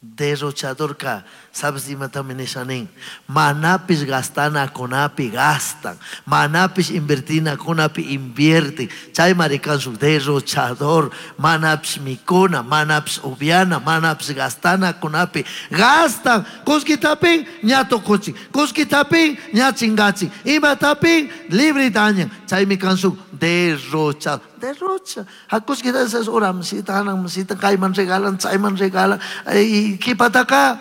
Derrochadorca, sabes imatami nisha nin? Manapish gastanacunapi gastan, manapish invertinacunapi invierten. Chaymari kan shuk derrochador, manapish mikuna, manapish upiana, manapish gastanacunapi gastan. Kullkitapin ña tukuchin, kullkitapin ña chingachin, imatapin libre dañan. Chaymi kan shuk derrochador. Derrocha. Hakushkita esas uramsita, hanamsita, kayman regalan, chayman regalan. Y kipataka.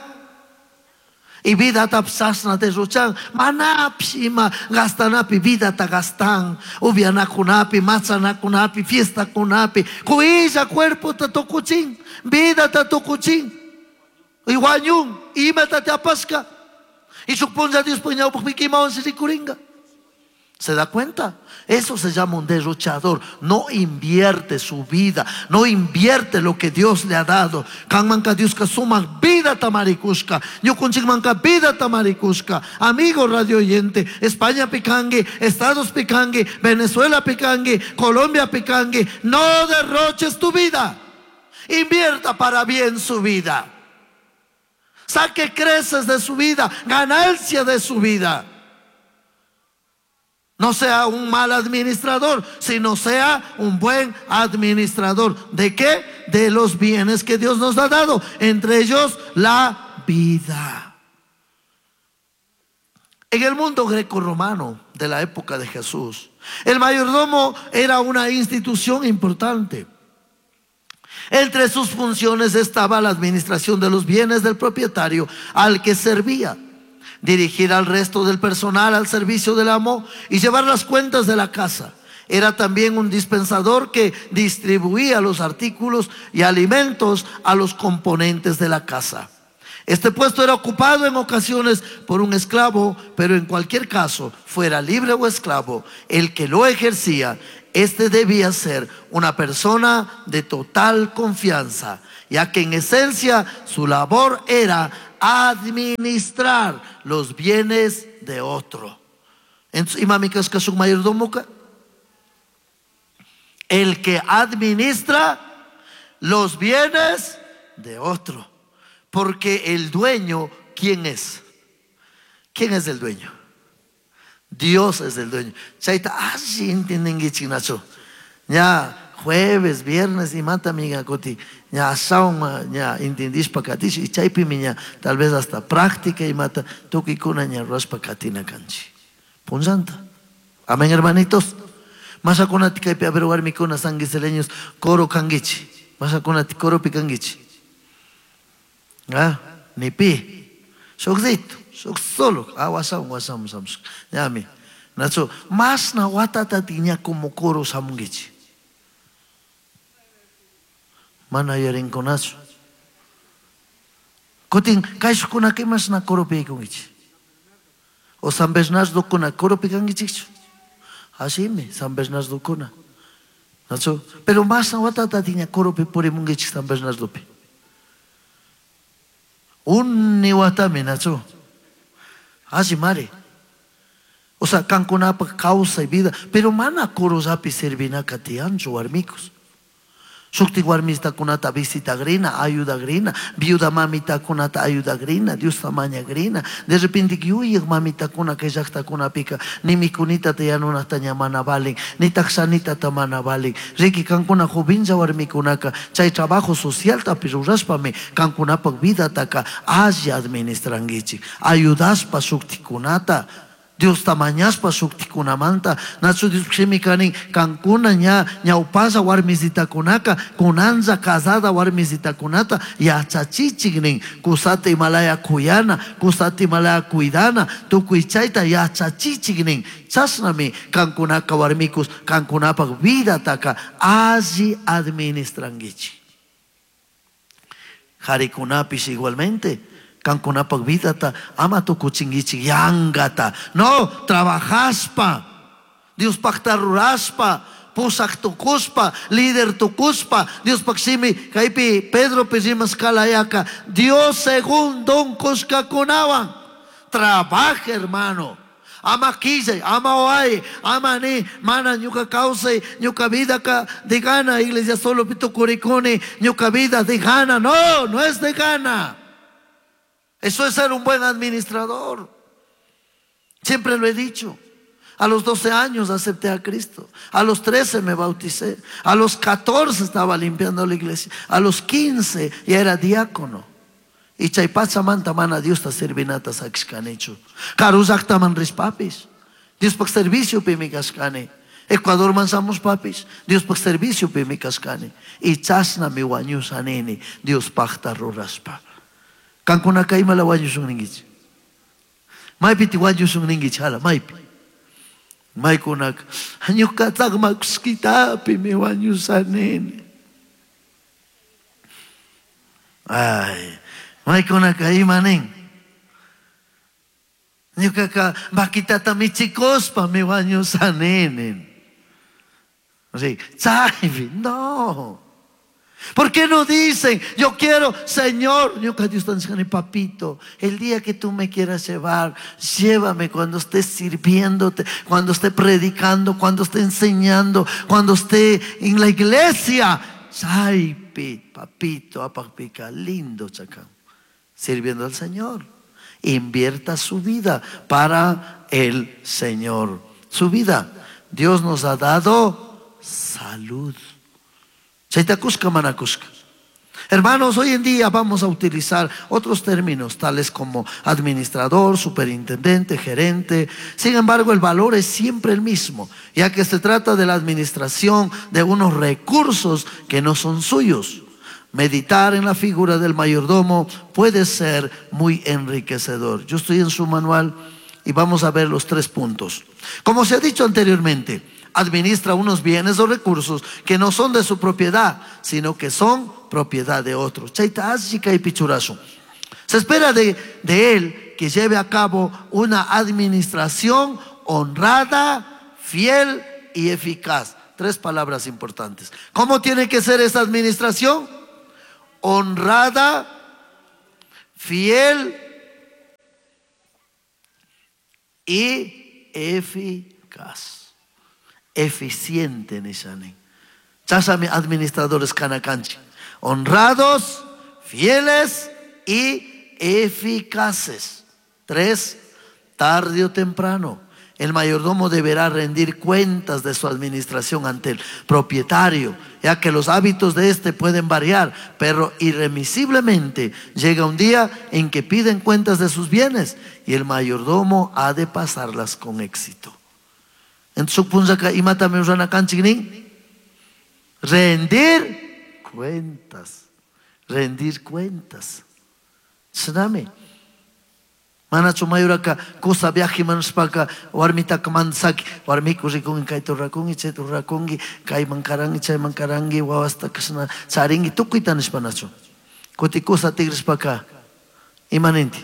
Y vidata chashna derrochan. Manapish ima gastanapi vidata gastan. Upianakunapi, machanakunapi, fiestakunapi. Kuylla cuerpota tukuchin, vidata tukuchin. Y wañun, imata te apashka. Y shuk punlla Diospaj ñawpakpika imawan rikuringa. ¿Se da cuenta? Eso se llama un derrochador. No invierte su vida, no invierte lo que Dios le ha dado. Kanmanka Dioska sumak vida tamarikushka. Ñukunchikmanka vida tamarikushka. Amigo radio oyente, España pikangi, Estados pikangi, Venezuela pikangi, Colombia pikangi. No derroches tu vida. Invierta para bien su vida. Saque creces de su vida, ganancia de su vida. No sea un mal administrador, sino sea un buen administrador. ¿De qué? De los bienes que Dios nos ha dado, entre ellos la vida. En el mundo grecorromano de la época de Jesús, el mayordomo era una institución importante. Entre sus funciones estaba la administración de los bienes del propietario al que servía, dirigir al resto del personal al servicio del amo y llevar las cuentas de la casa. Era también un dispensador que distribuía los artículos y alimentos a los componentes de la casa. Este puesto era ocupado en ocasiones por un esclavo, pero en cualquier caso, fuera libre o esclavo, el que lo ejercía, este debía ser una persona de total confianza, ya que en esencia su labor era administrar los bienes de otro. Entonces, imami kashka shuk mayordomoka? El que administra los bienes de otro. Porque el dueño, ¿quién es? ¿Quién es el dueño? Dios es el dueño. Chayta alli entiendenguichik, nachu. Ña jueves, viernes imata miga kuti ña ashawan ña entendishpa katish y chaypimi ña tal vez hasta práctica imata tukuykuna ña rurashpa katina kanchik. Punllanta. Amén, hermanitos. Mashakunati kaypi a ver warmikuna sanguiseleños coro kanguichi. Mashakunati coropi kanguichi. Ah, ni pi. Shukzito, shuk solo. Ah, wasam, wasam, wasam. Ñami. Nacho, masna watata tiña como coro samunguichi. Mana yuyarinkunachu. Kutin kayshukkunaka imashna coropi yaykunkichik. O San Bernardokuna coropi kankichikchu. Asimi, San Bernardokuna. Nacho, pero masna watata tiña coropi purimunkichik San Bernardopi. Unni watami, nacho. Alli mari. O sea, kankunapak kawsay vida, pero mana corollapi servinaka tiyanchu warmikus. Shukti warmitakunata visitagrina, ayudagrina, viuda mamitakunata ayudagrina, Diosta mañagrina. De repente yuyaq mamitakuna kay llaqtakunapika ni mikunitata yanunata ña mana valin, ni takshanitata mana valin. Riki kankuna jovenlla warmikunaka chay trabajo socialtapi rurashpami kankunapak vidataka alli administrankichik. Ayudashpa shuktikunata, Diosta mañashpa shuktikunamanta, nachu Dios shimi kanin kankuna ña ñawpalla warmisitakunaka, kunanlla casada warmisitakunata yachachichik nin, kusata imalaya kuyana, kusata imalaya cuidana, tukuy chayta yachachichik nin. Chashnami kankunaka warmikus kankunapak vidataka alli administrankichik. Jarikunapish igualmente. Kankunapak vidata ama tukuchinkichik yankata. No, trabajaspa, Diospakta ruraspa, pushak tukuspa, líder tukuspa, Diospak shimi kaypi Pedropi rimashkalayaka, Dios según don kushkakunawan. Trabaja, hermano. Ama quillay, ama oay, ama ni, mana ñuka kawsay, ñuka vida ka de gana, iglesia solo pitukurikuni, ñuka vida de gana. No, no es de gana. Eso es ser un buen administrador. Siempre lo he dicho. A los 12 años acepté a Cristo. A los 13 me bauticé. A los 14 estaba limpiando la iglesia. A los 15 ya era diácono. Y chay pachamanta mana Diosta servinata sakishkanichu. Karu rishpapis. Diospaj serviciopimi kashkani. Ecuadorman shamushpapis. Diospaj serviciopimi kashkani. Y chashnami wañusha nini Diospajta rurashpa. Kankunaka imala wañushun ninkichik. Maypiti wañushun ninkichik hala, maypi. Maykunaka ñuka tsakmakushkitapimi wañusha nini. Ay, maykunaka ima nin. Ñukaka vaquitata michikuspa mi wañusha nini. Sí, chaypi, no. ¿Por qué no dicen, yo quiero, Señor? Ñuka Dios nishkani, papito, el día que tú me quieras llevar, llévame cuando esté sirviéndote, cuando esté predicando, cuando esté enseñando, cuando esté en la iglesia. Chaypi, papito, apapika, lindo chacán, sirviendo al Señor. Invierta su vida para el Señor. Su vida. Dios nos ha dado salud. Chayta kushka mana kushka. Hermanos, hoy en día vamos a utilizar otros términos tales como administrador, superintendente, gerente. Sin embargo, el valor es siempre el mismo, ya que se trata de la administración de unos recursos que no son suyos. Meditar en la figura del mayordomo puede ser muy enriquecedor. Yo estoy en su manual y vamos a ver los 3 puntos. Como se ha dicho anteriormente, administra unos bienes o recursos que no son de su propiedad, sino que son propiedad de otros. Chayta ashika y pichurazo. Se espera de él que lleve a cabo una administración honrada, fiel y eficaz. 3 palabras importantes. ¿Cómo tiene que ser esa administración? Honrada, fiel y eficaz. Eficiente, nishani. Chasami administradores kanakanchi. Honrados, fieles y eficaces. 3, tarde o temprano, el mayordomo deberá rendir cuentas de su administración ante el propietario, ya que los hábitos de este pueden variar, pero irremisiblemente llega un día en que piden cuentas de sus bienes y el mayordomo ha de pasarlas con éxito. En su punzaka imata mi rana kanchik nin? Rendir cuentas. Rendir cuentas. Tsunami. Manachu mayuraka kusa viaje manuspaka warmitaka mandsaki warmiku rikungi kayta rurakungi chayta rurakungi kayman karangi chayman karangi wawasta kashna charingi tukuyta nishpa nachu. Kuti kusa tigrishpaka imaninti.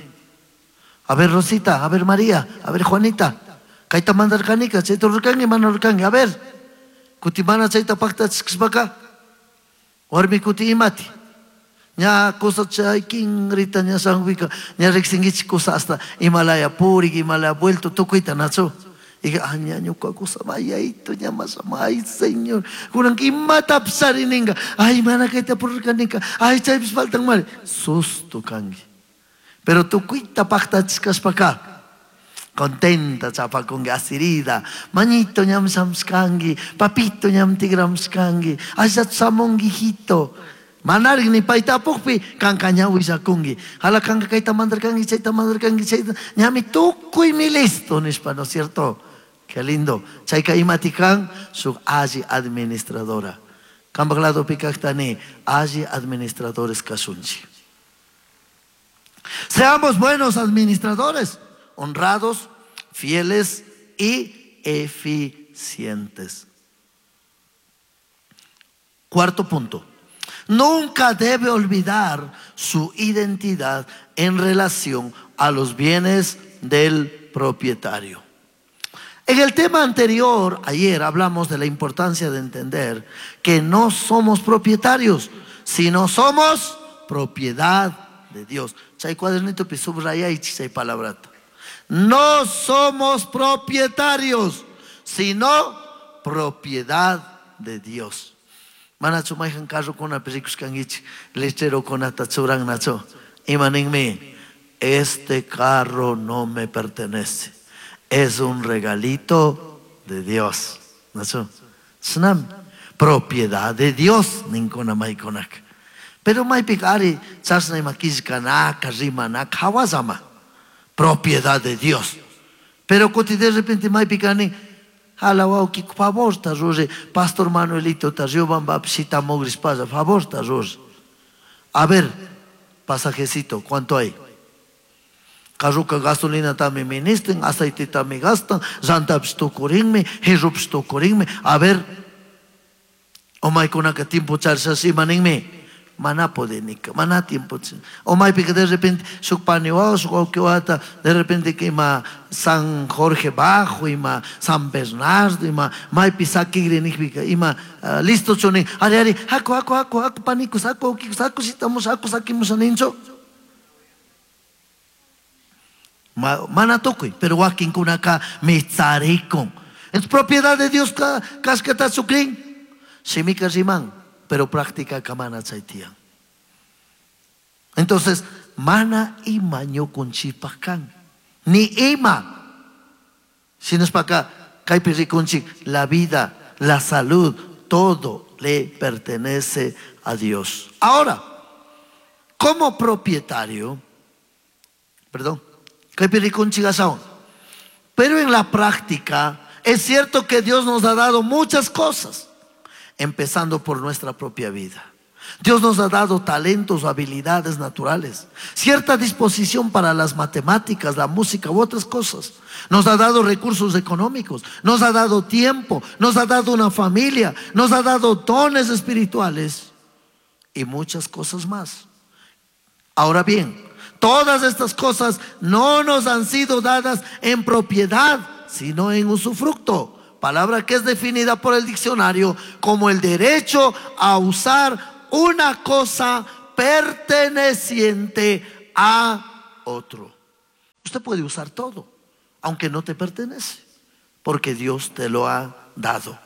A ver Rosita, a ver María, a ver Juanita. Kayta mandarkanika chayta rurkangi mana rurkangi. A ver. Kuti mana chayta paktachishpaka warmi kuti imati. Ña kusa chay kingrita ña sanwika ña riksinkichik kusa hasta Himalaya purik Himalaya vuelto tukuyta nachu. Y ah, ña ñuka kusa mayayto ña masama, ay señor kunanka imatapish charininka, ay mana kayta pururkaninka, ay chaypish faltan mari, susto kanki. Pero tukuyta paktachishkashpaka contenta chapakunki, asirida, mañito ñam shamshkanki, papito ñam tigramshkanki, asha shamunki hijito. Manarik ni payta apukpi kanka ña willakunki. Jala kanka kayta mandarkanki, chayta mandarkanki, chayta ñami tukuymi listo nishpa, ¿no es cierto? Qué lindo. Chayka imati kan suk alli administradora. Kanpak ladopi kaktani alli administradores kasunchik. Seamos buenos administradores, honrados, fieles y eficientes. Cuarto punto. Nunca debe olvidar su identidad en relación a los bienes del propietario. En el tema anterior, ayer hablamos de la importancia de entender que no somos propietarios, sino somos propiedad de Dios. Chay cuadernito pi subrayay chay palabrata. No somos propietarios, sino propiedad de Dios. Manachu mayhan carrokunapi rikushkankichik, letrerocunata churannachu. Ima ninmi? Este carro no me pertenece. Es un regalito de Dios. ¿No? Propiedad de Dios. Ninkuna maykunak. Pero maypika ari chashna ima killkanaka, rimanaka, hawasama. Propiedad de Dios. Pero kuti de repente maypika nin, jala wawki, favorta ruri, Pastor Manuelito ta Riobambapi shitamugrispalla, favorta ruri. A ver, pasajecito, ¿cuánto hay? Carruka gasolina tami ministren, aceite tami gastan, llantapis tukurinmi, jirrupis tukurinmi. A ver, omaykunaka tiempo charishash ima ninmi, mana podenika, mana tiempo. Omaypika de repente shuk pani wawa, shuk wawki wawata, de repente que ima San Jorge Bajo, ima San Bernardo, ima maypi sakigri nikpika, ima listo chuni, ari ari, haku, haku, haku, haku, panikus, haku, wawkikus, haku, shitamush, haku, sakimusha ninchu. Mana tukuy, pero wakinkunaka mitsarikun. Es propiedad de Dios kashkatachu krin. Shimika riman, pero práctica kamana chay tiyan. Entonces, mana ima ñukunchikpaj kan. Ni ima. Shinashpaka kaypi rikunchik, la vida, la salud, todo le pertenece a Dios. Ahora, como propietario, perdón, kaypi rikunchik ashawan. Pero en la práctica, es cierto que Dios nos ha dado muchas cosas, empezando por nuestra propia vida. Dios nos ha dado talentos o habilidades naturales, cierta disposición para las matemáticas, la música u otras cosas. Nos ha dado recursos económicos, nos ha dado tiempo, nos ha dado una familia, nos ha dado dones espirituales y muchas cosas más. Ahora bien, todas estas cosas no nos han sido dadas en propiedad, sino en usufructo. Palabra que es definida por el diccionario como el derecho a usar una cosa perteneciente a otro. Usted puede usar todo, aunque no te pertenece, porque Dios te lo ha dado.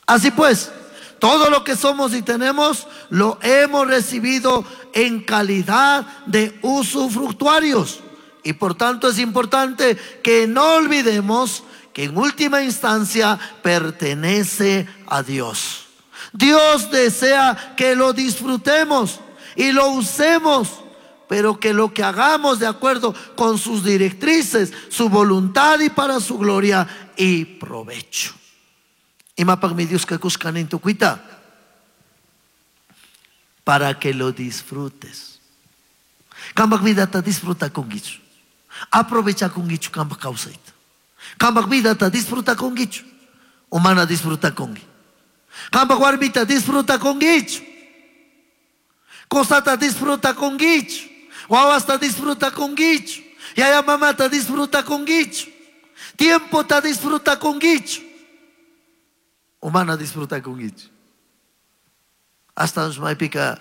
Así pues, todo lo que somos y tenemos lo hemos recibido en calidad de usufructuarios. Y por tanto es importante que no olvidemos que en última instancia pertenece a Dios. Dios desea que lo disfrutemos y lo usemos, pero que lo que hagamos de acuerdo con sus directrices, su voluntad y para su gloria y provecho. Imapaq mi Dios que kushkanin tukuita, para que lo disfrutes. Kampak vidata disfruta kungichu. Aprovecha kungichu kampak kawsayta. Kampak vidata disfruta kungichu. Umana disfruta kungi. Kampak warmita disfruta kungichu. Kosata disfruta kungichu. Wawasta disfruta kungichu. Yaya mamata disfruta kungichu. Tiempo ta disfruta kungichu. Umana disfruta kungichu. Hasta maypika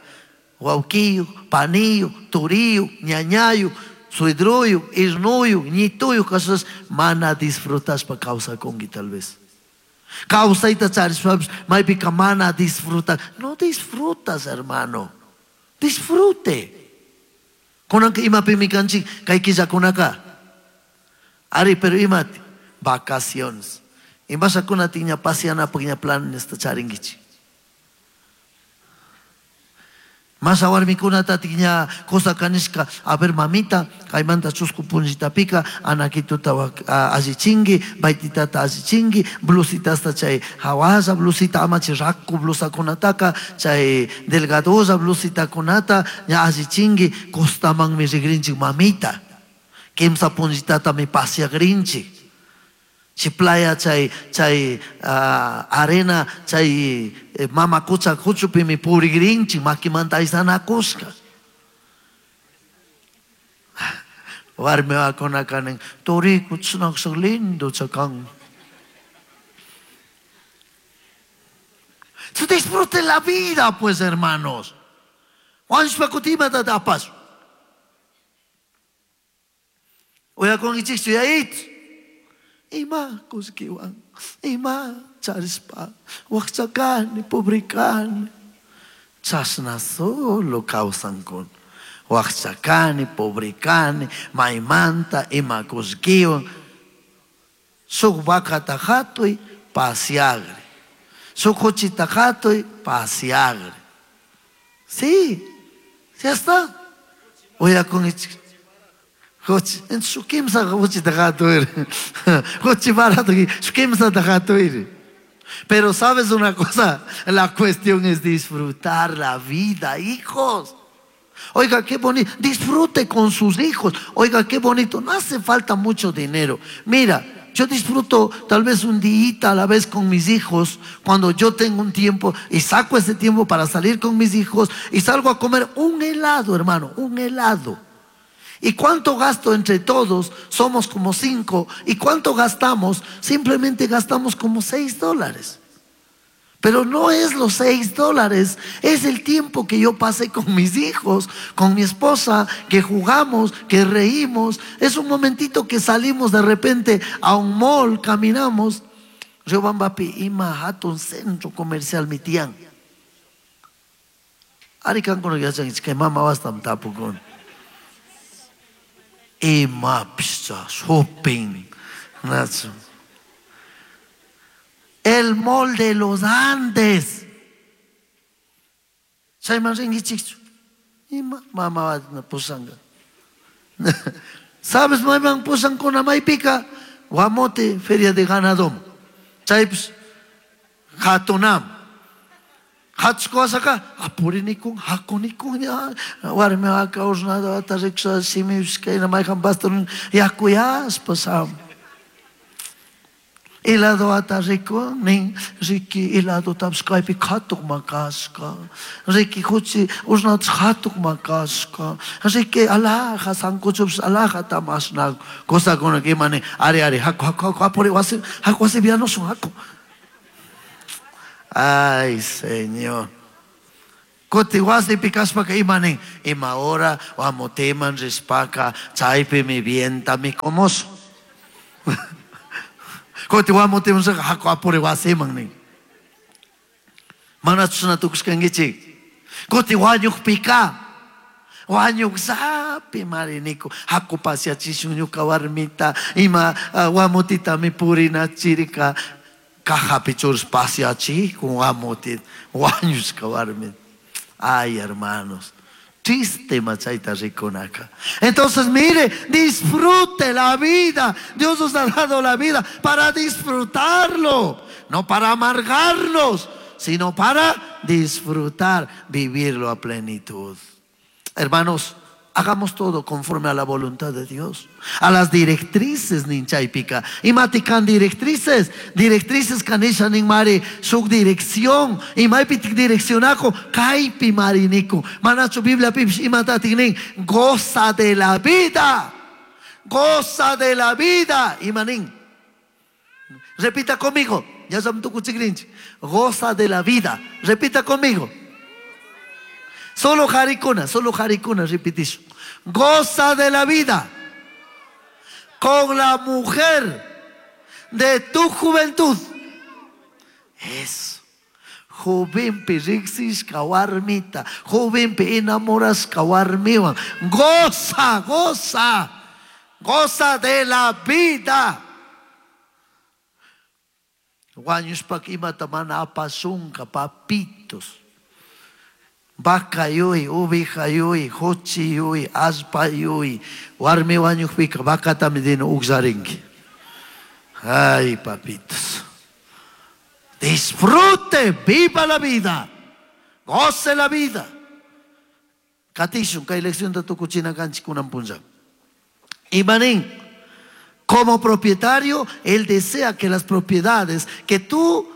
wawkiyu, paniyu, turiyu, ñañayu, suedruyu, irnuyu, ñituyu, kasas mana disfrutaspa kawsakunki tal vez. Kawsayta charishpapish maypika mana disfruta. No disfrutas, hermano. Disfrute. Kunanka imapimi kanchik kay killakunaka. Ari, pero imati vacaciones. Imashakunati ña pasianapaq ña planesta charinkichik. Masa warmikunata tiña cosa kanishka, a ver mamita, kaymanta chusku punllitapika, anakituta allichinki, baititata allichinki, blusitasta chay hawalla blusita, amachi raku blusakunataka, chay delgadosa blusitakunata, ña allichinki, costamanmi rigrinchik mamita. Kimsa punllitata mi pasiagrinchik. Chi playa chay, chay arena chay mama kucha kuchupimi purigrinchik makimanta aysanakushka. Warmi wawakunaka nin, turiku chinakshak lindo chakan. Disfrute la vida, pues, hermanos. Wanshpa kutimata tapas. Uyakunkichikchu yayit. Ima kuskiwan, ima charispa, wakchakani, pobrikani. Chashna solo kawsankuna. Wakcha kani, pobre kani, maymanta, ima kullkiwan. Shuk vacata hatuy, pasiagri. Shuk kuchita hatuy, pasiagri. Sí, ya está. Uyakun Kuchi, shuk kimsa kuchita hatuy. Kuchi barato, shuk kimsata hatuy. Pero sabes una cosa, la cuestión es disfrutar la vida, hijos. Oiga, qué bonito. Disfrute con sus hijos. Oiga, qué bonito. No hace falta mucho dinero. Mira, yo disfruto tal vez un día a la vez con mis hijos, cuando yo tengo un tiempo y saco ese tiempo para salir con mis hijos y salgo a comer un helado, hermano, un helado. ¿Y cuánto gasto entre todos? Somos como 5. ¿Y cuánto gastamos? Simplemente gastamos como $6. Pero no es los $6, es el tiempo que yo pasé con mis hijos, con mi esposa, que jugamos, que reímos. Es un momentito que salimos de repente a un mall, caminamos. Riobambapi ima hatun centro comercial mi tian. Arikan kono yachankichik, kay mama wastam tapukuni. Ima pishcha shopping. Nacho. El mall de los Andes. Chayman rinkichikchu. Ima mama wasna pusanga. ¿Sabes mayman pusankuna maypika? Guamote, feria de ganadom. Chaypis hatunam. Hatsukuasaka, apurinikun, hakunikun, ya, warmi waka usnada wata riksa simipis kayna mayqan pastor yakuyaspa sam. Helado ata rico, nin, riki helado taps kaypi qhatuq makasqa, riki huchi usnatas qhatuq makasqa, riki alhaja sancochupis alhaja tamasna, cosakuna imani, ari ari, haku haku haku, apuri wasi, haku wasi vianosun, haku. Ay, Señor. Kuti wasipi kashpaka imanin, ima hora wamotiman rishpaka, chaypi mi vienta mi comoso. Kuti wamotiman rishpaka, haku apuri wasiman nin. Mana chusna tukushkankichik. Kuti wañukpika, wañuksapi mariniku, haku pasiachishun ñuka warmita, ima wamotita mi purina chirika, cajapi churus pasiachikun wamotit, wañushka warmita. Ay, hermanos, triste machayta rikunaka. Entonces, mire, disfrute la vida. Dios nos ha dado la vida para disfrutarlo, no para amargarnos, sino para disfrutar, vivirlo a plenitud. Hermanos, hagamos todo conforme a la voluntad de Dios, a las directrices ninchaypika. Imatikan directrices, directrices kanisha ninmari, suk dirección, imaypi direccionajo, kaypi mariniku. Manachu Biblia pipish imatatik nin, goza de la vida, goza de la vida, imanin. Repita conmigo, ya samtukuchikrinchi, goza de la vida, repita conmigo. Solo jaricuna, repitisho. Goza de la vida con la mujer de tu juventud. Eso. Jovenpi riqsishka warmita, jovenpi enamorashka warmiwan. Goza, goza, goza de la vida. Wañushpaka imata mana apasunka, papitos. Vaca yui, oveja yui, jochi yui, aspa yui, warmi wañukpika vacatami dino uksarinki. Ay, papitos. Disfrute, viva la vida, goce la vida. Katishun, kay lección de tukuchina kanchik kunan punlla. Imanín, como propietario, él desea que las propiedades que tú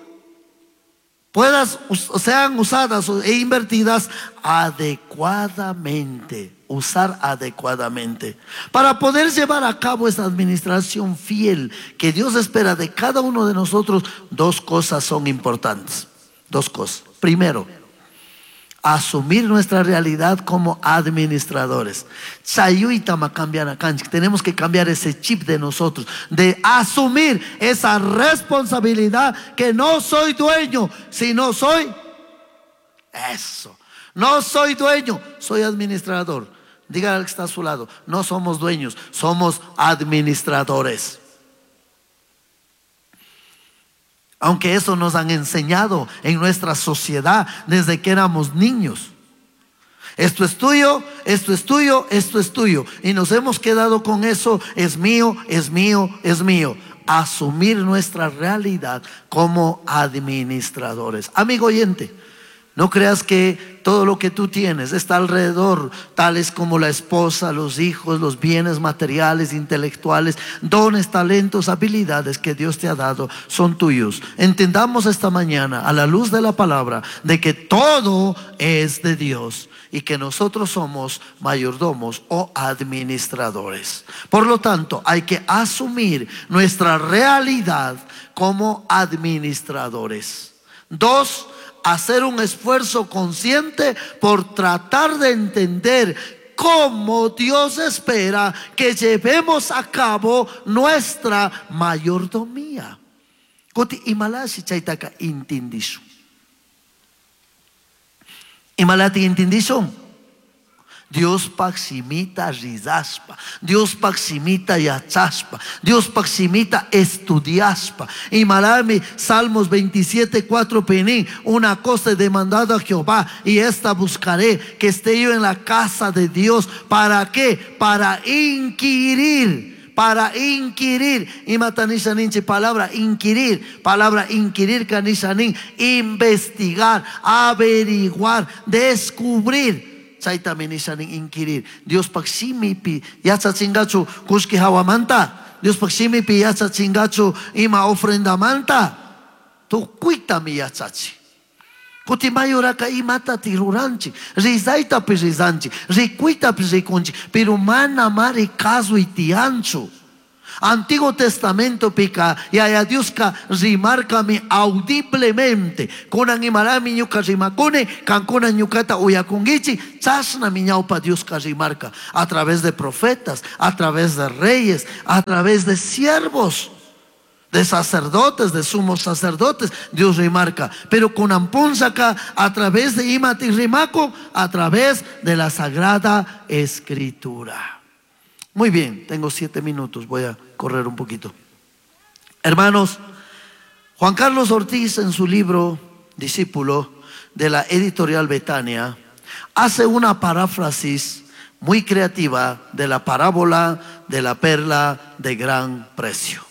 puedas, sean usadas e invertidas adecuadamente, usar adecuadamente, para poder llevar a cabo esa administración fiel que Dios espera de cada uno de nosotros. Dos cosas son importantes, dos cosas. Primero, asumir nuestra realidad como administradores. Tenemos que cambiar ese chip de nosotros, de asumir esa responsabilidad que no soy dueño, sino soy eso. No soy dueño, soy administrador. Dígale al que está a su lado, no somos dueños, somos administradores. Aunque eso nos han enseñado en nuestra sociedad desde que éramos niños. Esto es tuyo, esto es tuyo, esto es tuyo. Y nos hemos quedado con eso, es mío, es mío, es mío. Asumir nuestra realidad como administradores. Amigo oyente, no creas que todo lo que tú tienes está alrededor, tales como la esposa, los hijos, los bienes materiales, intelectuales, dones, talentos, habilidades que Dios te ha dado, son tuyos. Entendamos esta mañana, a la luz de la palabra, de que todo es de Dios y que nosotros somos mayordomos o administradores. Por lo tanto, hay que asumir nuestra realidad como administradores. 2, hacer un esfuerzo consciente por tratar de entender cómo Dios espera que llevemos a cabo nuestra mayordomía. Kuti imalashi chaytaka intindishun. Imalati intindishun. Diospaj shimita rizaspa, Diospaj shimita yachaspa, Diospaj shimita estudiaspa. Imalami Salmos 27:4 penín, una cosa he demandado a Jehová y esta buscaré, que esté yo en la casa de Dios. ¿Para qué? Para inquirir. Para inquirir. Imatanisha ninchi palabra inquirir. Palabra inquirir kanisha nin. Investigar, averiguar, descubrir. Chaytami nisha nin inquirir. Diospaj shimipi yachachingachu kushki hawamanta. Diospaj shimipi yachachingachu ima ofrendamanta. Tukuytami yachachi. Kuti mayoraka imatati ruranchik, rizaytapish rizanchik, rikuytapish rikunchik, pero mana mari kasuy tiyanchu. Antiguo Testamento pica, yaya Dioska rimarkami audiblemente. Kunan imarami ñuka rimakuni, kankuna ñukata uyakungichi, chashnami ñawpa Dioska rimarka. A través de profetas, a través de reyes, a través de siervos, de sacerdotes, de sumos sacerdotes, Dios rimarca. Pero con ampunzaca, a través de imati rimaco, a través de la Sagrada Escritura. Muy bien, tengo 7 minutos, voy a correr un poquito. Hermanos, Juan Carlos Ortiz en su libro Discípulo de la editorial Betania hace una paráfrasis muy creativa de la parábola de la perla de gran precio.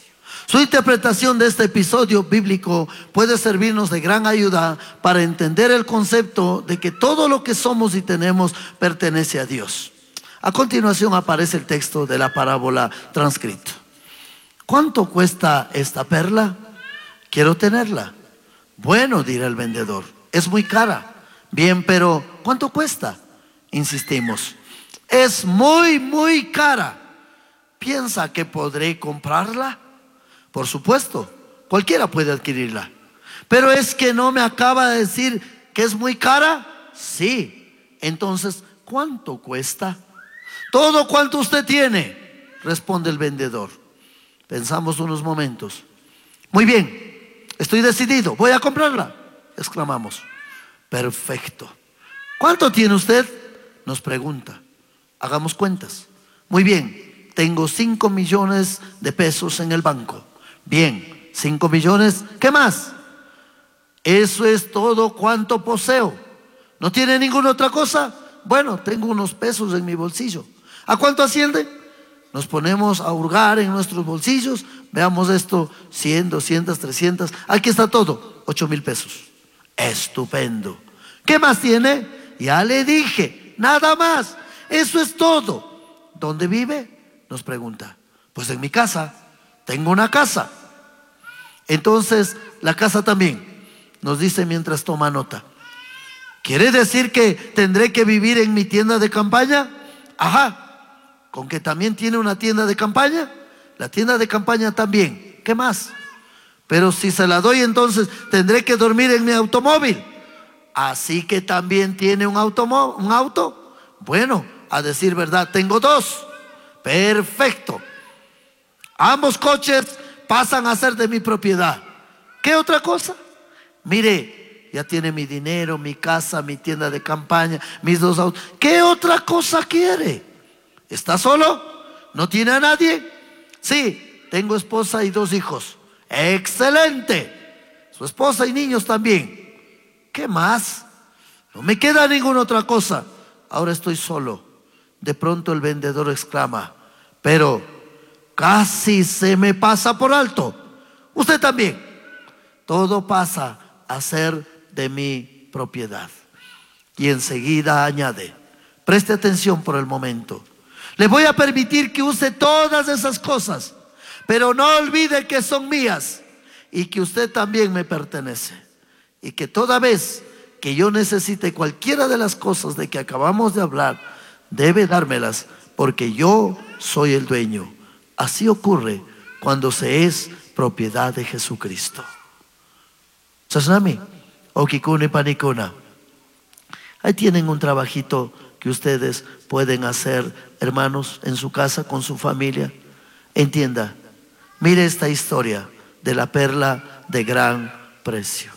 Su interpretación de este episodio bíblico puede servirnos de gran ayuda para entender el concepto de que todo lo que somos y tenemos pertenece a Dios. A continuación aparece el texto de la parábola transcrito. ¿Cuánto cuesta esta perla? Quiero tenerla. Bueno, dirá el vendedor, es muy cara. Bien, pero ¿cuánto cuesta? Insistimos. Es muy, muy cara. ¿Piensa que podré comprarla? Por supuesto, cualquiera puede adquirirla. Pero es que no me acaba de decir que es muy cara. Sí. Entonces, ¿cuánto cuesta? Todo cuanto usted tiene, responde el vendedor. Pensamos unos momentos. Muy bien, estoy decidido, voy a comprarla, exclamamos. Perfecto. ¿Cuánto tiene usted? Nos pregunta. Hagamos cuentas. Muy bien, tengo 5 millones de pesos en el banco. Bien, 5 millones, ¿qué más? Eso es todo cuanto poseo. ¿No tiene ninguna otra cosa? Bueno, tengo unos pesos en mi bolsillo. ¿A cuánto asciende? Nos ponemos a hurgar en nuestros bolsillos. Veamos esto, 100, 200, 300. Aquí está todo, 8,000 pesos. Estupendo. ¿Qué más tiene? Ya le dije, nada más. Eso es todo. ¿Dónde vive? Nos pregunta. Pues en mi casa. Tengo una casa. Entonces, la casa también, nos dice mientras toma nota. ¿Quiere decir que tendré que vivir en mi tienda de campaña? Ajá. ¿Con que también tiene una tienda de campaña? La tienda de campaña también. ¿Qué más? Pero si se la doy, entonces tendré que dormir en mi automóvil. Así que también tiene un auto. Bueno, a decir verdad, tengo 2. Perfecto. Ambos coches pasan a ser de mi propiedad. ¿Qué otra cosa? Mire, ya tiene mi dinero, mi casa, mi tienda de campaña, mis 2 autos. ¿Qué otra cosa quiere? ¿Está solo? ¿No tiene a nadie? Sí, tengo esposa y 2 hijos. ¡Excelente! Su esposa y niños también. ¿Qué más? No me queda ninguna otra cosa. Ahora estoy solo. De pronto el vendedor exclama: pero casi se me pasa por alto. Usted también. Todo pasa a ser de mi propiedad. Y enseguida añade: preste atención por el momento. Le voy a permitir que use todas esas cosas, pero no olvide que son mías y que usted también me pertenece. Y que toda vez que yo necesite cualquiera de las cosas de que acabamos de hablar, debe dármelas, porque yo soy el dueño. Así ocurre cuando se es propiedad de Jesucristo. Chasnami, okikuna y panikuna. Ahí tienen un trabajito que ustedes pueden hacer, hermanos, en su casa, con su familia. Entienda, mire esta historia de la perla de gran precio.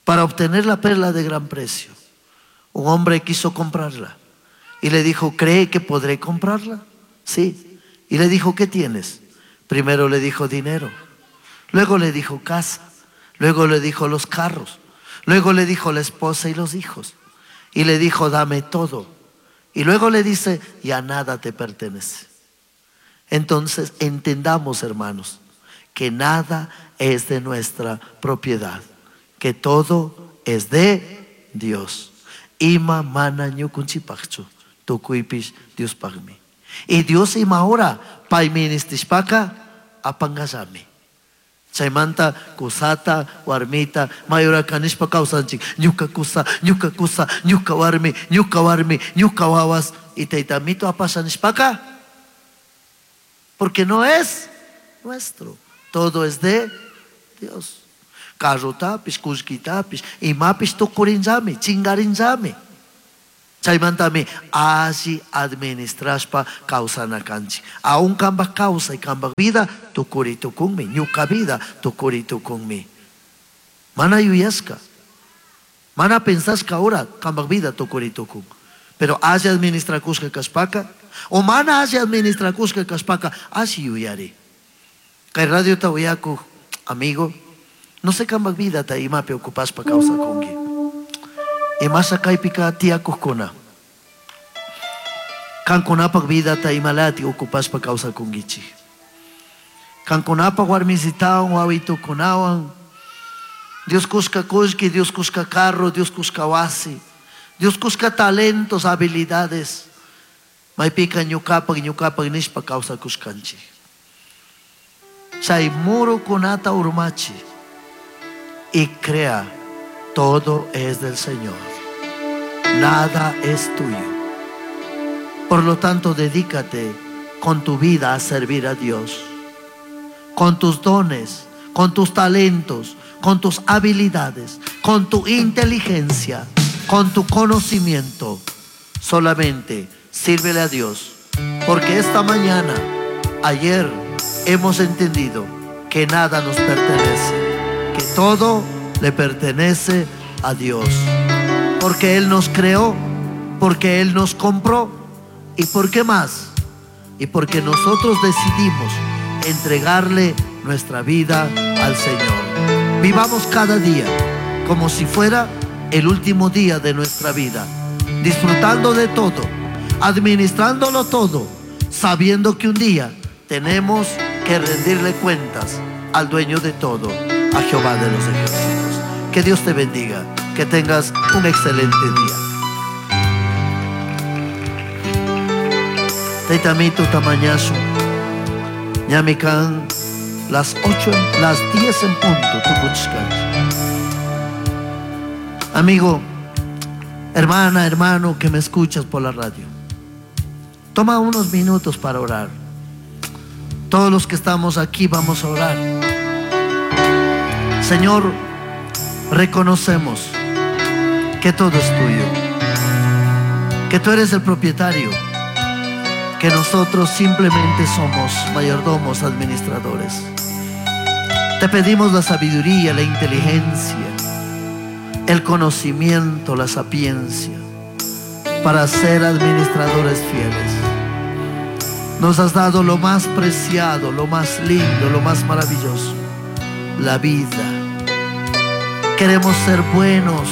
Para obtener la perla de gran precio, un hombre quiso comprarla y le dijo: ¿cree que podré comprarla? Sí. Y le dijo: ¿qué tienes? Primero le dijo dinero, luego le dijo casa, luego le dijo los carros, luego le dijo la esposa y los hijos, y le dijo: dame todo. Y luego le dice: ya nada te pertenece. Entonces entendamos, hermanos, que nada es de nuestra propiedad, que todo es de Dios. Ima mana ñukunchipaqchu, tukuypish Diospaqmi. Y Dios ima hora payministishpaka apangallami. Chaymanta kusata, warmita, mayora kanishpa kawsanchik. Ñuka kusa, ñuka kusa, ñuka warmi, ñuka warmi, ñuka wawas. Y taytamito apasha nishpaka, porque no es nuestro. Todo es de Dios. Carrotapish, kullkitapish, imapish tukurinllami, chingarinllami. Chaymantami alli administrashpa kawsana kanchik. Aún kambaj kawsay, kambaj vida tukuri tukunmi, ñuka vida tukuri tukunmi. Mana yuyashka, mana pensashka ahora kambaj vida tukuri tukun. Pero alli administrakushka kashpaka, o mana alli administrakushka kashpaka, alli yuyari. Kay radio ta uyakuj, amigo, no sé kambaj vida ta imapi ocupashpa kawsakunki. Imasa kaypika tiyakujkuna. Kankunapak vida ta imalati ocupashpa kawsakunkichik. Kankunapak warmisitawan, wawitukunawan. Dios kushka kullki, Dios kushka carro, Dios kushka wasi. Dios kushka talentos, habilidades. Maypika ñukapak, ñukapak nishpa kawsakushkanchik. Chay murukunata urmachi y crea, todo es del Señor. Nada es tuyo. Por lo tanto, dedícate con tu vida a servir a Dios. Con tus dones, con tus talentos, con tus habilidades, con tu inteligencia, con tu conocimiento. Solamente sírvele a Dios. Porque esta mañana, ayer, hemos entendido que nada nos pertenece, que todo le pertenece a Dios. Porque Él nos creó, porque Él nos compró. ¿Y por qué más? Y porque nosotros decidimos entregarle nuestra vida al Señor. Vivamos cada día como si fuera el último día de nuestra vida, disfrutando de todo, administrándolo todo, sabiendo que un día tenemos que rendirle cuentas al dueño de todo, a Jehová de los ejércitos. Que Dios te bendiga, que tengas un excelente día. Teitamito tamañazo, ñamikan, las 8, las 10 en punto, tukuchkanch. Amigo, hermana, hermano que me escuchas por la radio, toma unos minutos para orar. Todos los que estamos aquí vamos a orar. Señor, reconocemos que todo es tuyo, que tú eres el propietario, que nosotros simplemente somos mayordomos, administradores. Te pedimos la sabiduría, la inteligencia, el conocimiento, la sapiencia, para ser administradores fieles. Nos has dado lo más preciado, lo más lindo, lo más maravilloso, la vida. Queremos ser buenos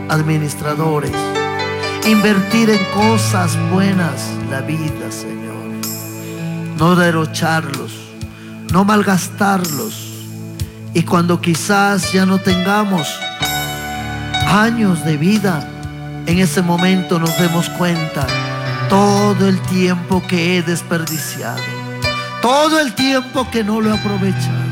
administradores, invertir en cosas buenas la vida, Señor. No derrocharlos, no malgastarlos. Y cuando quizás ya no tengamos años de vida, en ese momento nos demos cuenta todo el tiempo que he desperdiciado, todo el tiempo que no lo he aprovechado.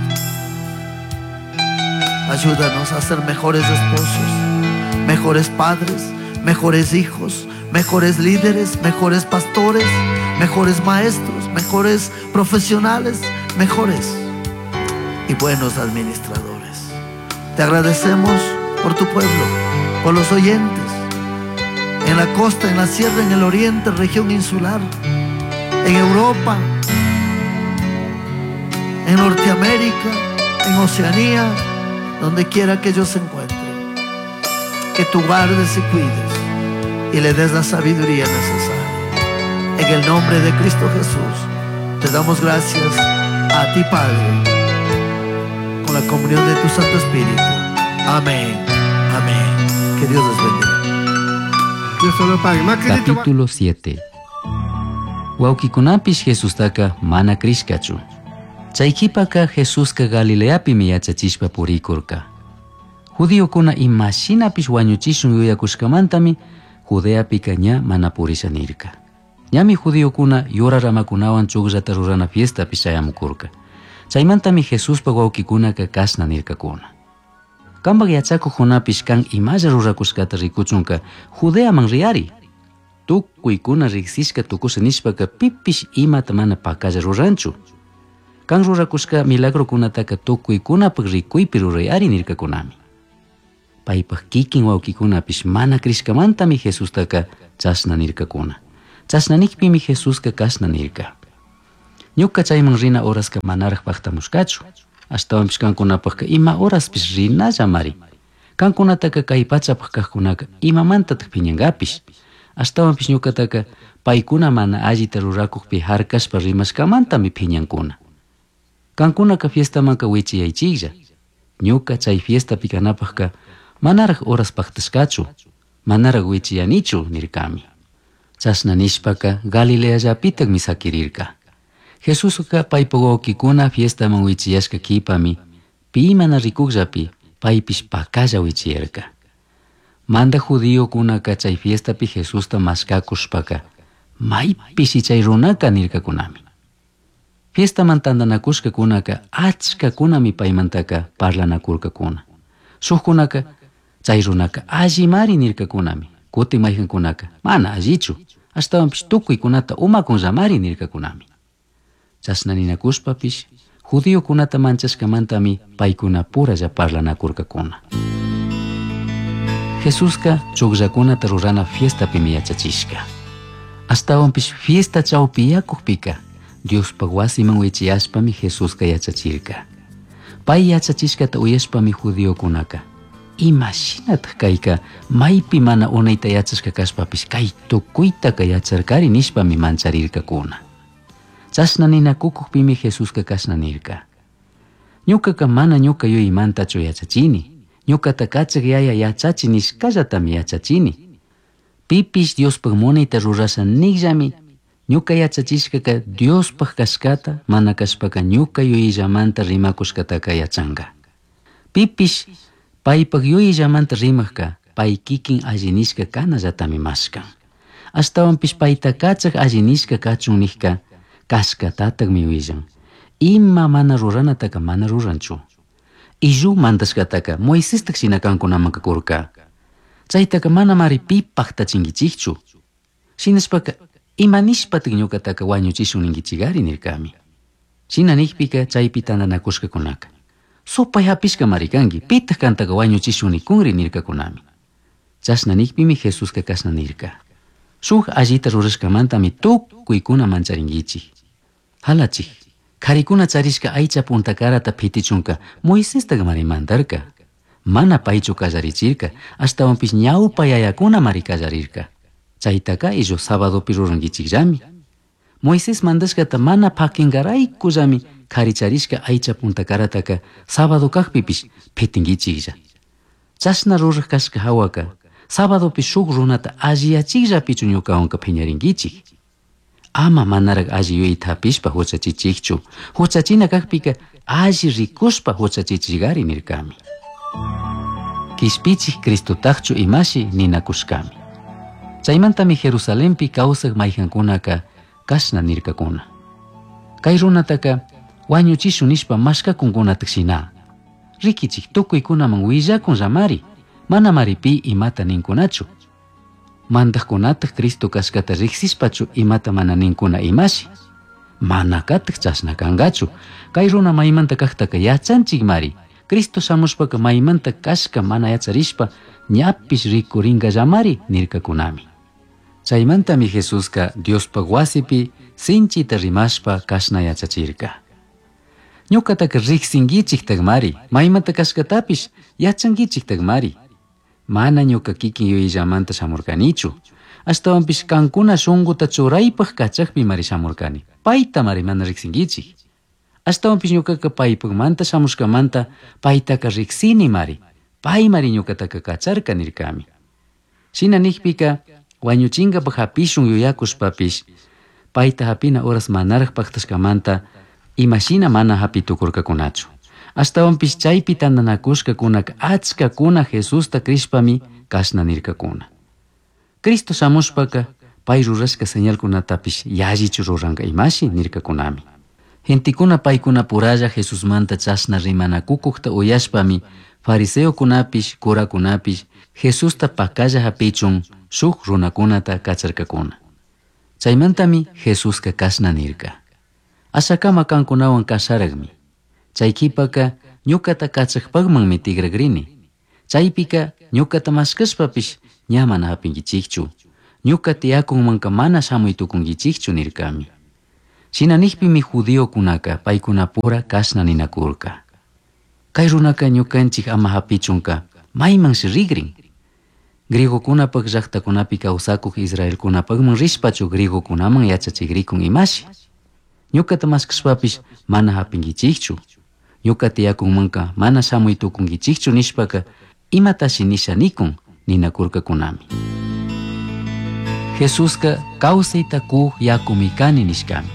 Ayúdanos a ser mejores esposos, mejores padres, mejores hijos, mejores líderes, mejores pastores, mejores maestros, mejores profesionales, mejores y buenos administradores. Te agradecemos por tu pueblo, por los oyentes, en la costa, en la sierra, en el oriente, región insular, en Europa, en Norteamérica, en Oceanía, donde quiera que ellos se encuentren. Que tú guardes y cuides y le des la sabiduría necesaria. En el nombre de Cristo Jesús, te damos gracias a ti, Padre, con la comunión de tu Santo Espíritu. Amén. Amén. Que Dios les bendiga. Dios lo pague. Capítulo 7. Huauquikunapish Jesustaka mana crishkachu. Chay qhipaka Jesuska Galileapimi yachachishpa purikurka. Judiokuna imashinapish wañuchishun yuyakushkamantami Judeapika ña mana purisha nirka. Ñami judiokuna yura ramakunawan chukllata rurana fiestapi chayamukurka. Chaymantami Jesuspa wawqikunaka kashna nirkakuna. Kanpak yachakuqkunapish kan imalla rurakushkata rikuchunka Judeaman riyari. Tukuykuna riqsishka tukusha nishpaka pipish imata mana pakalla ruranchu. Kan rurakushka milagrokunataka tukuykunapak rikuypi rurayari nirkakunami. Paypak kikin wawqikunapish mana crishkamantami Jesustaka chashna nirkakuna. Chashna nikpimi Jesuska kashna nirka. Ñuka chayman rina horaska manaraj paqtamushkachu. Ashtawanpish kankunapaqka ima horaspish rinallamari. Kankunataka kay pachapaq kaqkunaka imamantataq phiñankapish. Ashtawanpish ñukataka paykuna mana allita rurakuqpi harkashpa rimashkamantami phiñankuna. Kankunaka fiestamanka wichiyaychiklla. Ñuka chay fiestapi kanapaqka manaraj horas paqtashkachu, manaraj wichiyanichu nirkami. Chashna nishpaka Galileallapitakmi sakirirka. Jesuska paypa wawqikuna fiestaman wichiyashka qhipami pi mana rikukllapi paypish pakalla wichiyarka. Manda judiokunaka chay fiestapi Jesusta mashkakushpaka maypishi chay runaka nirkakunami. Fiestaman tantanakushkakunaka achkakunami paymantaka parlanakurkakuna. Shukkunaka chay runaka allimari nirkakunami. Kutin mayqankunaka mana allichu, ashtawanpish tukuykunata umakunllamari nirkakunami. Chashna ninakushpapish judiokunata manchashkamantami paykunapuralla parlanakurkakuna. Jesuska chukllakunata rurana fiestapimi yachachishka. Ashtawanpish fiesta chawpiyakukpika Diospaq wasiman wichiyashpami Jesuska yachachirka. Pay yachachishkata uyashpami judiokunaka imashinataq kayka maypi mana unayta yachashka kashpapish kay tukuytaka yacharkari nishpami mancharirkakuna. Chashna ninakukuqpimi Jesuska kashna nirka. Ñukaka mana ñuka yuyaymantachu yachachini. Ñukata kachaq yaya yachachi nishkallatami yachachini. Pipish Diospaq munayta rurasha niqllami ñuka yachachishkaka Diospaq kashkata mana kashpaka ñuka yuyillamanta rimakushkataka yachanka. Pipish paypaq yuyillamanta rimaqka pay kikin alli nishka kanallatami mashkan. Ashtawanpish payta kachaq alli nishka kachun niqka kashkatataqmi willan. Ima mana ruranataka mana ruranchu. Illu mandashkataka Moisestaq shina kankunamanka kurka. Chaytaka manamari pi paqtachinkichikchu. Shinashpaka ima nishpataq ñukataka wañuchishun ninkichikari nirkami. Shina nikpika chaypi tantanakushkakunaka. Supay hapishkamari kanki, pitaq kantaka wañuchishun nikunri nirkakunami. Chashna nikpimi Jesuska kashna nirka. Shuk allita rurashkamantami tukuykuna mancharinkichik. Halachik, karikuna charishka aycha puntakarata phitichunka Moisestaq mari mandarka. Mana paychu kallarichirka, ashtawanpish ñawpa yayakunamari kallarirka. Chaytaka illu sabadopi rurankichikllami. Moisés mandashkata mana pakinkaraykullami karicharishka aycha puntakarataka sábado kaqpipish pitinkichiklla. Chashna ruraj kashka hawaka sábadopi shuk runata alliyachikllapichu ñukawanka phiñarinkichik. Ama manaraq alli yuyayta hapishpa huchachichikchu. Huchachina kaqpika alli rikushpa huchachichikari nirkami. Kishpichik Cristotaqchu imashi ninakushkami. Chaymantami Jerusalenpi kawsaq mayqankunaka kashna nirkakuna. Kay runataka wañuchishun nishpa mashkakunkunataq shina. Rikichik tukuykunaman willakun llamari, manamari pi imata ninkunachu. Mandaqkunataq Cristo kashkata riqsishpachu imata mana ninkuna imashi. Manakataq chashna kankachu. Kay runa maymanta kaqtaka yachanchikmari. Cristo shamushpaka maymanta kashka mana yacharishpa ñapish rikurinkallamari nirkakunami. Chaymantami Jesuska Diospaq wasipi sinchita rimashpa kashna yachachirka. Ñuqataka riqsinkichiktaqmari, maymanta kashkatapish yachankichiktaqmari. Mana ñuqa kikin yuyallamanta shamurkanichu. Ashtawanpish kankuna shunquta churaypaq kachaqpimari shamurkani. Paytamari mana riqsinkichik. Ashtawanpish ñuqaqa paypaqmanta shamushkamanta paytaqa riqsinimari. Paymari ñuqataqa kacharka nirkami. Shina niqpika wañuchinkapaq hapishun yuyakushpapish payta hapina horas manaraq paqtashkamanta imashina mana hapitukurkakunachu. Ashtawanpish chaypi tantanakushkakunaka achkakuna Jesusta crishpami kashna nirkakuna. Cristo shamushpaka pay rurashka señalkunatapish yallichu ruranka imashi nirkakunami. Gentekuna paykunapuralla Jesusmanta chashna rimanakukuqta uyashpami fariseokunapish kurakunapish Jesusta pakalla hapichun shuk runakunata kacharkakuna. Chaymantami Jesuska kashna nirka. Ashakama kankunawan kasharaqmi. Chay qhipaka ñuqata kachaqpaqmanmi tigragrini. Chaypika ñuqata mashkashpapish ña mana hapinkichikchu. Ñuqa tiyakunmanka mana shamuy tukunkichikchu nirkami. Shina niqpimi judiokunaka paykunapura kashna ninakurka. Kay runaka ñukanchik ama hapichunka maymanshi rigrin. Griegokunapaq llaqtakunapi kawsakuq israelkunapaqman rishpachu griegokunaman yachachikrikun imashi. Ñuqata mashkashpapish mana hapinkichikchu. Ñuqa tiyakunmanka mana shamuy tukunkichikchu nishpaka imatashi nisha nikun ninakurkakunami. Jesuska kawsayta kuq yakumi kani nishkami.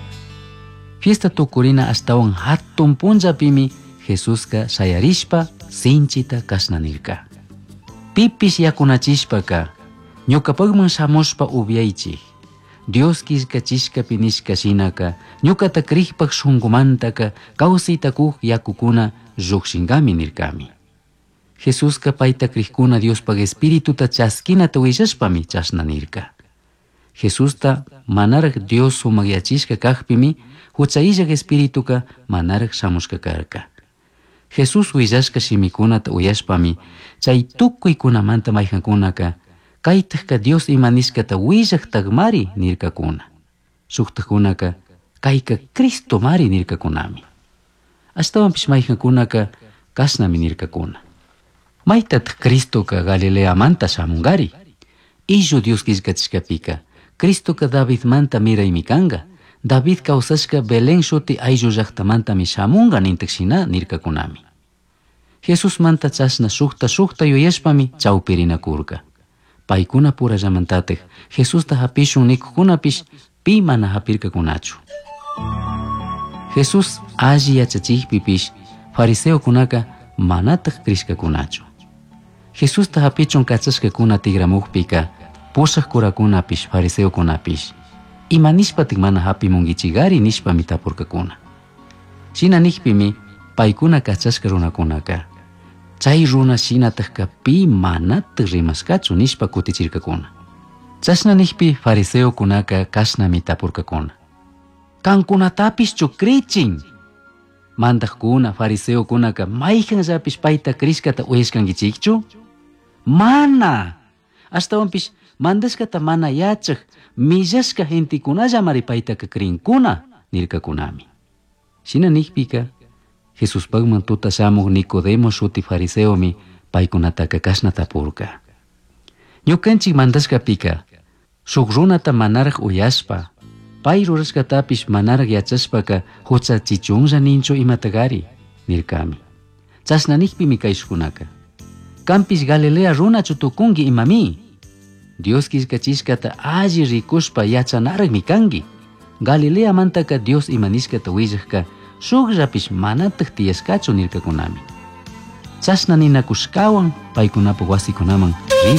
Fiesta tukurina ashtawan hatun punllapimi Jesuska shayarishpa sinchita kashna nirka. Pipish yakunachishpaka ñuqapaqman shamushpa upyaychik. Dios killkachishkapi nishka shinaka ñuqata kriqpaq shunqumantaka kawsayta kuq yakukuna lluqshinkami nirkami. Jesuska payta kriqkuna Diospaq espirituta chaskinata willashpami chashna nirka. Jesusta manaraq Dios sumaqyachishka kaqpimi huchayllaq espirituka manaraq shamushka karka. Jesús willashka shimikunata uyashpami chay tukuykunamanta mayqankunaka kaytaqka Dios ima nishkata willaqtaqmari nirkakuna. Shuqtaqkunaka kayka Cristomari nirkakunami. Ashtawanpish mayqankunaka kashnami nirkakuna. Maytataq Cristoka Galileamanta shamunkari. Illu Dios killkachishkapika Cristoka Davidmanta miraymi kanka. David kawsashka Belén shuti ayllu llaqtamantami shamunka nintaq shina nirkakunami. Jesusmanta chashna shukta shukta yuyashpami chawpirinakurka. Paykuna purallamantataq Jesusta hapishun nikuqkunapish pi mana hapirkakunachu. Jesús alli yachachikpipish fariseokunaka manataq krishkakunachu. Jesusta hapichun kachashkakuna tigramuqpika pusaq kurakunapish fariseokunapish ima nishpatik mana hapimunkichikari nishpami tapurkakuna. Shina niqpimi paykuna kachashka runakunaka chay runa shinataqka pi manataq rimashkachu nishpa kutichirkakuna. Chashna niqpi fariseokunaka kashnami tapurkakuna. Kankunatapishchu krichin. Mandaqkuna fariseokunaka mayqanllapish payta krishkata uyashkankichikchu? Mana! Ashtawanpish mandashkata mana yachaq millashka gentekunallamari paytaka krinkuna nirkakunami. Shina niqpika Jesuspaqman tuta shamuq Nicodemo shuti fariseomi paykunataka kashna tapurka. Ñukanchik mandashkapika shuk runata manaraq uyashpa Pai rurashcatapish manaraj yachashpaca huchachichunlla ninchu imatagari nircami. Chashna nijpimi caishcunaca. Canpish Galilea runachu tucungui imami. Dios quillcachishcata alli ricushpa yachanarajmi cangui. Galileamantaka Dios ima nishcata huillajca shukllapish manataj tiyashcachu nircacunami. Chashna ninacushcahuan paicunapaj huasicunaman rirca.